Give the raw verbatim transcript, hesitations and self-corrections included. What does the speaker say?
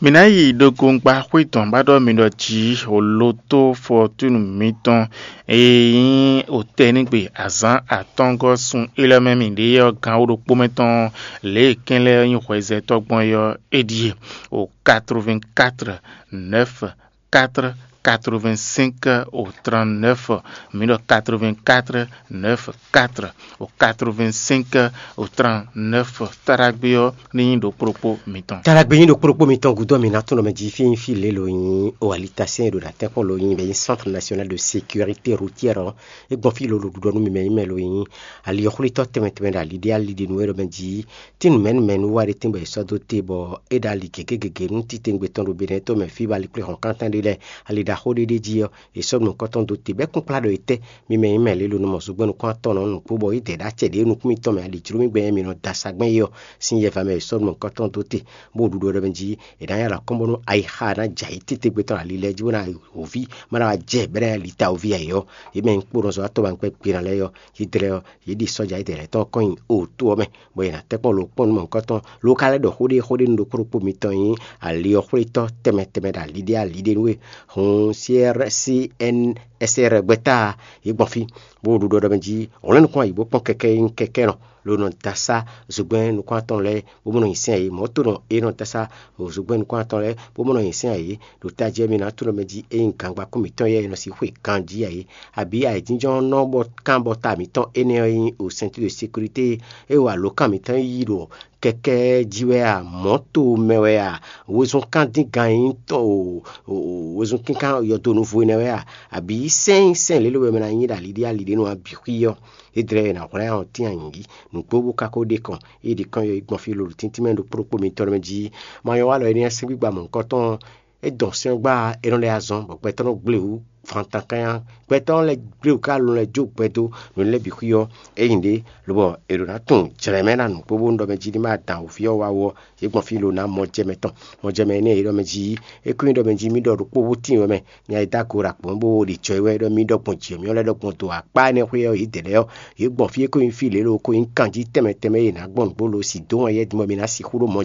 Mǐ ná yi ɖo gongba xwé dɔ̌n ba ɖɔ mi ɖɔ jǐ, o lotó fɔtúnu mitɔn e nyí otɛ́nigbe azǎn atɔ́ɔ́ngɔ́ sun élɔ́ mɛ mǐ ɖe ɔ́ gán wú ɖokpó mɛ tɔn, lě e kɛn lɛ́ɛ nyí hwɛzɛtɔ́ gbɔn é ɔ́, é ɖíe: o quatre-vingt-quatre neuf quatre quatre-vingt-cinq au trente-neuf, mǐ ɖɔ quatre-vingt-quatre neuf quatre au quatre-vingt-cinq au trente-neuf. Taɖagbe ɔ́ ní nyí ɖokpó ɖokpó mitɔn. Taɖagbe nyí ɖokpó ɖokpó mitɔn gúdo mi ná tún nɔ mɛ jí fí nyí fí lě lo nyí o alitasɛn e ɖo na tɛ́nkpɔ́n lo nyí bɛ nyí Centre National de Sécurité Routière ɔ́, é gbɔn fí lo ɖo ɖuɖɔ nú mi mɛ nyí mɛ lo nyí ali ɔ́ xwlítɔ́ tɛnmɛ tɛnmɛ ɖo ali ɖé ali ɖé nú é ɖɔ mɛ jí. Tín mɛ̌ nú mɛ̌ nú wá ɖé tɛ́n bɔ è sɔ́ dó te bɔ é ɖo ali gěgé gěgé nú titewungbe tɔn ɖo Benɛ́ɛ to mɛ fí bɔ ali kplé hɔn kántán ɖé lɛ́ɛ, ali ɖaxó ɖé ɖ'é jí ɔ́, è sɔ́ nǔ nukɔntɔn dó te bɔ é kún kplá ɖɔ è tɛ́ mi mɛ nyí mɛ lě lo nɔ mɔ zogbɛ́n nukún atɔn nɔ nukún bɔ é dɛ ɖó acɛ ɖě nukún mitɔn mɛ ali jló mì gbɛn mi nɔ da sagbɛ́n é ɔ́ sín yɛ va mɛ è sɔ́ nǔ nukɔntɔn dó te, bó ɖuɖu ɖɔ mɛ jí è nǎ nyi alɔ kɔ́n bónú ayixa ná jɛ ayǐ titewungbe tɔn ali lɛ́ɛ jí bó ná hǒví má ná wá jɛ bɛ́ ná lita wǒví ayǐ ɔ́, yě mɛ nyí kpóɖɔzɔ́ atɔ́ ba gbɛ́ gbe ná lɛ́ɛ ɔ́, yí dlɛ́ ɔ́, yě ɖi sɔ́ja édɛɛ lɛ́ɛ tɔn kɔn nyi oto ɔ́ mɛ, bɔ è nǎ tɛ́ kpɔ́n lo kpɔ́n nú mɔ̌hunkɔtɔn, lo ka lɛ́ ɖɔ xó ɖé xó ɖé nú ɖokpó ɖokpó mitɔn nyí ali ɔ́ xwlétɔ́ tɛnmɛ tɛnmɛ ɖo ali ɖé ali ɖé nú we. Hun C R C N S R gbɛ́ta yě gbɔn fí, bó ɖo ɖɔɖɔ mɛ jí hwlɛ́n nukún ayǐ bó kpɔ́n kɛkɛ́ e nyí kɛkɛ́nɔ, lo nɔ dasá zogbɛ́n nukún atɔn lɛ́ɛ bó mɔ nɔ nyi sɛ́n ayǐ. Mɔ̌ to nɔ é nɔ dasá zogbɛ́n nukún atɔn lɛ́ɛ bó mɔ nɔ nyi sɛ́n ayǐ, ɖo tají ɔ́ mi ná tunɔ mɛ jí é nyí gangba kún mǐtɔn yɛ e nɔ sixú e ganjí ayǐ, abǐ ayǐjínjɔ́n nɔ bɔ kán bɔ ta mǐtɔn énɛ́ ɔ́ nyí o ceinture de sécurité e wa alǒkan mǐtɔn yi ɖo kɛkɛ́ jí wɛ a, mɔ̌to mɛ wɛ a, wezun kán dín gan nyí tɔn o, wezun kínkan yɔdo nuvo énɛ́ wɛ a, abǐ sɛ́n sɛ́n lě lo wɛ mɛ ná nyí ɖo ali ɖé ali ɖé nú abǐ xwí ɔ́, é dlɛ́ è nǎ hwlɛ́n ɔ́ tín anyǐ nǔgbó bó ka ko ɖe kɔn, é ɖi kɔn yɔ yi gbɔn fí lolo tíntín mɛ ɖo kplɔ́kpó mitɔn mɛ jí. Ma nyɔ́ wa lɔ énɛ́ sín gbígba mɔ̌hunkɔtɔn é dɔn sɛ́n ɔ́ gbá, é nɔ lɛ́ azɔn bɔ gbɛtɔ́ nɔ gblé wú fantankanya. Gbɛtɔ́ lɛ́ɛ gblé wú ká lɔn lɛ́ jó gbɛ dó nǔ lɛ́ɛ bǐ xwí ɔ́, é nyi ɖě lobɔ è ɖǒ ná tunwun jlɛ̌ mɛ ná nǔgbó bónú ɖɔ mɛ jí ní ma dan wǔvǐ ɔ́ wá wú ɔ́, yě gbɔn fí lo ná mɔjɛmɛ tɔn. Mɔjɛmɛ énɛ́ e ɖɔ mɛ jí é kún nyí ɖɔ mɛ jí mì ɖɔ ɖokpó bó tíin wɛ mɛ, nya e dó ago ɖo akpɔ̌n bó ɖi jɔ é wɛ ɖɔ mì ɖɔ gbɔn jǐ mì ɔ́ lɛ́ ɖɔ gbɔn do akpá énɛ́ xwé ɔ́ yě dɛ lɛ́ɛ ɔ́, yě gbɔn fí é kó nyí fí lě lo kó nyí kanjí tɛnmɛ tɛnmɛ e yě ná gbɔn nǔgbó lo sì dó wɛn yɛ din bɔ mì ná sixú ɖó mɔ